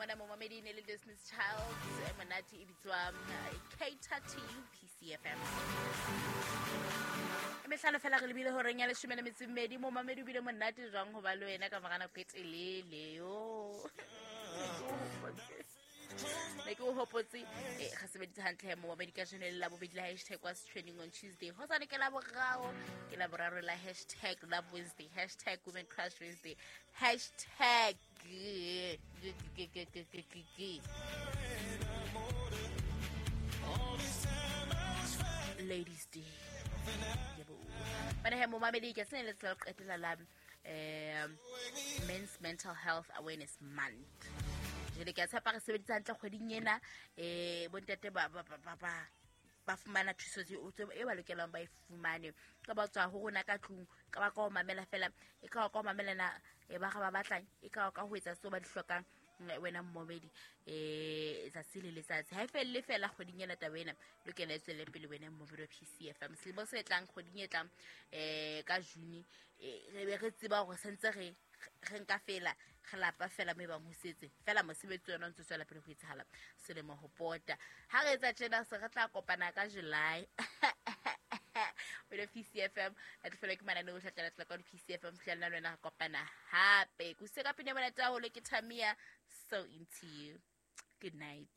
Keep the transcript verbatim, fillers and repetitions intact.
mona momamedi ne le Destiny's Child e monate e bitswa eh, Cater to You P C F M. E mehlano fela re lebile horeng ya leshome le metso e mmedi. Momamedi o bile monate jwang ho ba le wena ka mora nako e telele yo. Ne ke o hopotse, eh, re sebeditse hantle he momamedi ka jeno le Labobedi la hashtag was trending on Tuesday. Hosane ke Laboraro, ke Laboraro la hashtag Love Wednesday, hashtag Women Crush Wednesday, hashtag G, G, G, G, G, G, G, G. Ladies Day. Yebo. Bana he momamedi ke sene le tsela qetela la, eh, Men's Mental Health Awareness Month. Jwale ke a tshepa re sebeditse hantle kgweding ena, eh, bontate ba, ba, ba, ba, ba, ba fumana thuso tse, tse, e ba lokelang ba e fumane. Ka ba tswa ho rona ka tlung, ka ba ka ho mamela fela, e ka ba ka ho mamela na, e ba ga ba batlang, e ka ba ka ho etsa seo ba di hlokang, mm, wena mmomedi, eh, tsatsi le letsatsi. Ha e felle fela kgweding ena taba ena, lokela e tswele pele wena mmomedi wa P C F M. Selemo se tlang, kgweding e tlang, eh, ka June, eh, re be re tseba hore sentse re, re nka fela, re lapa fela moo e bang ho setse. Fela mosebetsi ona o ntse o tswela pele ho etsahala selemo ho pota. Ha re etsa tjena, se re tla kopana ka July. Wena P C F M, la tlofelwa ke mananeo ohle a tla latela ka P C F M, fihlela le wena re kopana hape. Ke usitse ka pina e monate haholo, ke Tamia, So Into You. Good night.